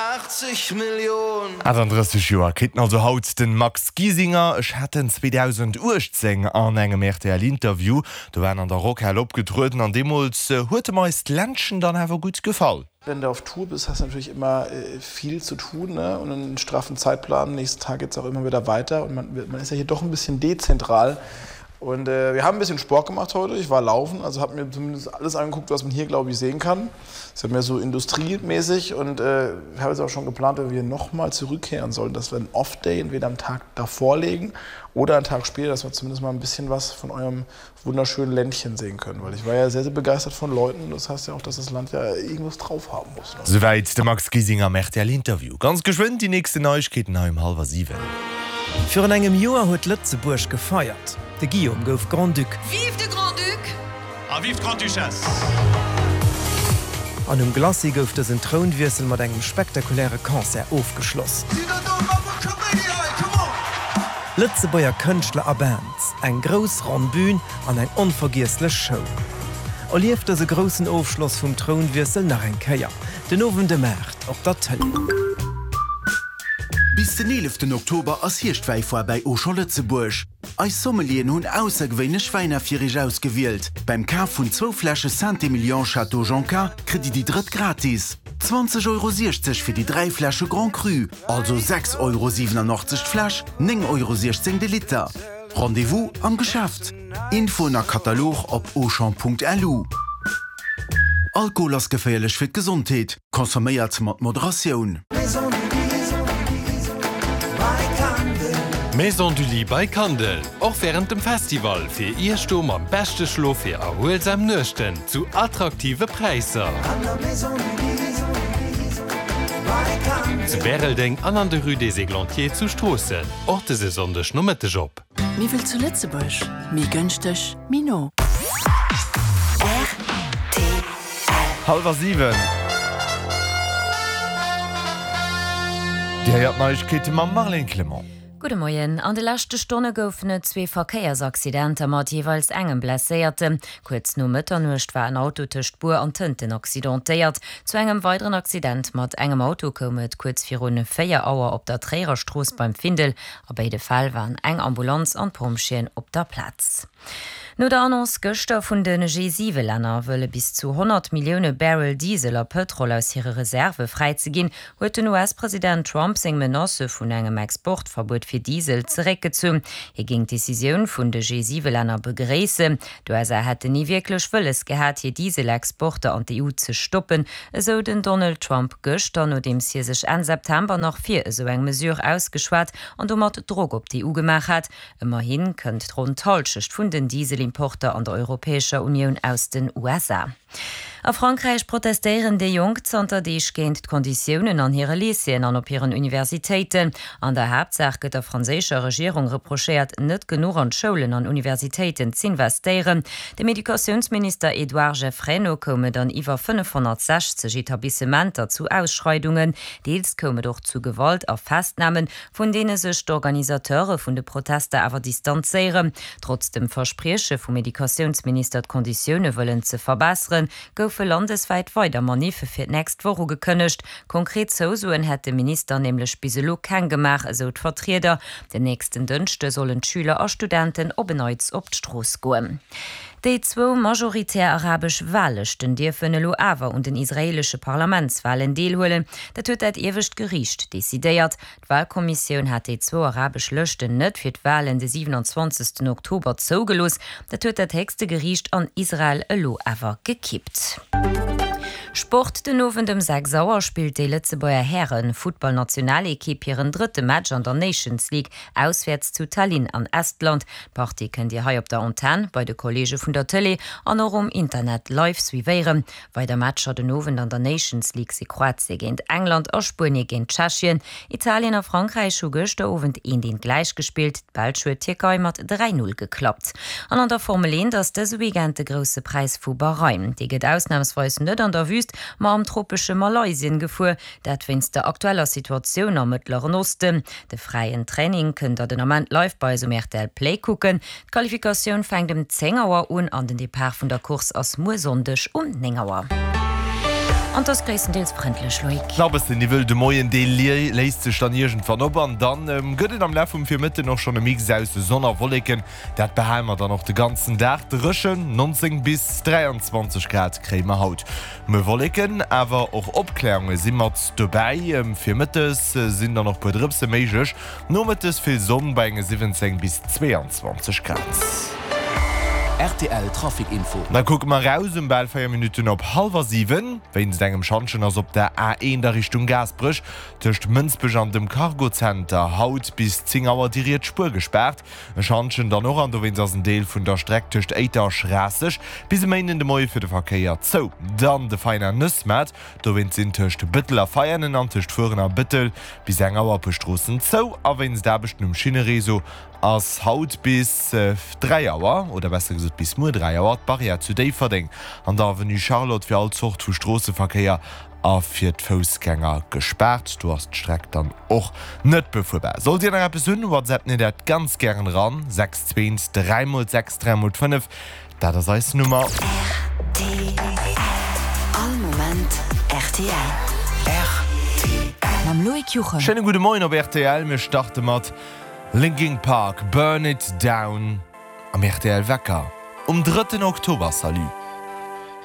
88 Millio'n. 38 Joer kritt en also haut, den Max Giesinger. Ech hat en 2018 an engem rtl Interview, do war en an der Rockhal opgetrueden an deemools huet em eist Ländchen dann awer gutt gefall. Wenn du auf Tour bist, hast du natürlich immer viel zu tun, ne, und einen straffen Zeitplan. Nächsten Tag geht's auch immer wieder weiter und man, man ist ja hier doch ein bisschen dezentral. Und äh, wir haben ein bisschen Sport gemacht heute. Ich war laufen, also habe mir zumindest alles angeguckt, was man hier, glaube ich, sehen kann. Ist ja mehr so industriemäßig und äh, ich habe jetzt auch schon geplant, wenn wir nochmal zurückkehren sollen, dass wir einen Off-Day entweder am Tag davor legen oder einen Tag später, dass wir zumindest mal ein bisschen was von eurem wunderschönen Ländchen sehen können. Weil ich war ja sehr, sehr begeistert von Leuten. Das heißt ja auch, dass das Land ja irgendwas drauf haben muss. Ne? Souwäit de Max Giesinger am RTL-Interview. Ganz geschwënn déi nächsten Neiegkeeten hei um hallwer 7. Virun engem Joer huet Lëtzebuerg gefeiert, de Guillaume gouf Grand-Duc. Vive de Grand-Duc! A vive d'Grande-Duchesse! An um Glacis gouf dësen Trounwiessel mat engem spektakuläre Concert ofgeschloss. Lëtzebuerger Kënschtler a Bands, eng grouss ronn Bün an eng onvergiesslech Show. Erlieft dëse groussen Ofschloss vum Trounwiessel nach eng Kéier, den Owend ëm 8 op der Tëlee. Bis den 11 Oktober ass Hierschtwäifoire bäi Auchan Lëtzebuerg. Eis Sommelieren hunn aussergewéinlech Wäiner fir iech ausgewielt. Beim Kaf vun zwou Fläsche Saint-Emilion Château Jonca kritt dir déi drëtt gratis. 20,60 Euro fir déi 3 Fläsche Grand Cru, also 6,87 Euro d'Fläsch, 9,16 Euro de Liter. Rendez-vous am Geschäft. Infoen a Katalog op auchan.lu. Alkohol ass geféierlech fir d'Gesondheet. Consomméiert mat Moderatioun. Maison du Lit by Kandel, och wärend dem Festival fir Iech do mam beschte Schlof fir erhuelsam Nuechten zu attraktive Präisser. Zu Bäreldeng an an der Rue des Églantiers zu Stroossen, och dëse Sonndeg Nomëtteg op. Méi wëll zu Lëtzebuerg, méi gënschteg, méi no. Rtl. Hallwer 7. Dir héiert d'Neiegkeete mam Marlène Clement. Gudde Moien. An de leschte Stonne goufen et zwee Verkéiersaccidenter mat jeeweils engem Blesséierten. Kuerz no Mëtternuecht war en Auto tëscht Bur an Tënten accidentéiert. Zu engem weideren Accident mat engem Auto koum et kuerz virun 4 Auer op der Tréierer Strooss beim Findel. A béide Fäll waren eng Ambulanz an d'Pompjeeën op der Plaz. No der Annonce gëschter vun de G7-Länner, wëlle bis zu 100 Millioune Barrel Diesel a Pëtrol aus hire Reserve fräizeginn, huet den US-President Trump seng Menacë vun engem Exportverbuet fir Diesel zeréckgezunn. Hie géing d'Decisioun vun de G7-Länner begréissen. D'USA hätten ni wierklech wëlles gehat, hir Dieselexporter an d'EU ze stoppen, esou den Donald Trump gëschter, nodeems hie sech Enn September nach fir esou eng Mesure ausgeschwat an domat Drock op d'EU gemaach hat. Ëmmerhi kënnt ronn d'Hallschecht vun den Dieselimporter an der Europäescher Unioun aus den USA. A Frankräich protestéieren déi Jonk zanter Deeg géint d'Konditiounen an hire Lycéeën an op hiren Universitéiten. An der Haaptsaach gëtt der franséischer Regierung reprochéiert, net genuch an d'Schoulen an Universitéiten z'investéieren. Dem Educatiounsminister Edouard Geffray no koum et an iwwer 560 Etablissementer zu Ausschreidungen. Deels koum et och zu Gewalt a Festnamen, vun deene sech d'Organisateure vun de Protester awer distanzéieren. Trotz dem Versprieche vum Educatiounsminister d'Konditioune wëllen ze verbesseren, goufe landeswäit weider Maniffe fir d'nächst Woch ugekënnegt. Konkret Zousoen hätt de Minister nämlech bis elo keng gemaach, esou d'Vertrieder. Den nächsten Dënschde sollen d'Schüler a Studenten op en Neits op d'Strooss goen. Déi zwou majoritär arabesch Wahllëschten dierfen elo awer un den israeelesche Parlamentswahlen deelhuelen. Dat huet dat iewescht Geriicht decidéiert. D'Wahlkommissioun hat déi zwou arabesch Lëschten net fir d'Wahlen de 27 Oktober zougelooss. Dat huet dat héchste Geriicht an Israel elo awer gekippt. Sport, Den Owend ëm 6 Auer spillt déi Lëtzebuerger Häre-Futtballnationalekipp hiren drëtte Match an der Nations League auswäerts zu Tallinn an Estland. D'Partie kënnt Dir hei op der Antenn, bei de Kolleege vun der Tëlee an och um Internet live suivéieren. Weider Matcher den Owend an der Nations League si Kroatie géint England a Spuenie géint Tschechien. Italien a Frankräich hu gëschter Owend eent eent gläich gespillt. D'Belsch huet d'Tierkei mat 3, 0 geklappt. An an der Formel 1 ass dëse Weekend de Grousse Präis vu Bahrain. Dee gëtt ausnamsweis net an der Wüst, ma am tropesche Malaysien gefuer. Dat wéinst der aktueller Situatioun am Mëttleren Osten. De fräien Training kënnt der den Ament live bei eis um rtl Play kucken. D'Qualifikatioun fänkt ëm 10 Auer un an den Depart vun der Course ass muer Sonndeg um 9 Auer. An 't ass gréisstendeels frëndlech, Loïc. Nach e bëssen Niwwel de Moien, dee léist sech dann iergendwann op an dann gëtt et am Laf vum Virmëtten och schonn e Mix aus Sonn a Wolleken. Dat behale mer dann och de ganzen Dag dréchen, 19 bis 23 Grad kréie mer haut. Muer Wolleken, awer och Opkläerunge si mat dobäi. Virmëttes sinn dann och puer Drëpse méiglech, nomëttes vill Sonn bei enge 17 bis 22 Grad. Rtl Trafic Info. Da kucke mer eraus um bal 4 Minutten op hallwer 7. Wéinst engem Schantjen ass op der A1 a Richtung Gaasperech tëscht Mënsbech an dem Cargozenter haut bis 10 Auer déi riets Spuer gespaart. E Schantjen dann och an dowéinst ass en Deel vun der Streck tëscht Éiter a Schraasseg bis e Méinden de Moie fir de Verkéier zou. Dann de Veiner Nëssmaart, dowéinst sinn tëscht Bëttel a Veianen an tëscht Fueren a Bëttel bis eng Auer e puer Stroossen zou. A wéinst Aarbechten um Schinnereseau ass haut bis 3 Auer, oder besser gesot bis muer 3 Auer, d'Barrière zu Déifferdeng an der Avenue Charlotte fir all Zort vu Stroosseverkéier a fir d'Foussgänger gespaart. Do ass d'Streck dann och net befuerbar. Sollt Dir nach eppes hunn, WhatsApp mir dat ganz gären eran, 6 2 3 mol 6 3 mol 5, dat ass eis Nummer. Rtl, All Moment rtl. Rtl. Mam Loïc Juchem. Schéine gudde Moien op rtl. Mir starte mat Linkin Park, Burn It Down am rtl Wecker um drëtten Oktober. Salut.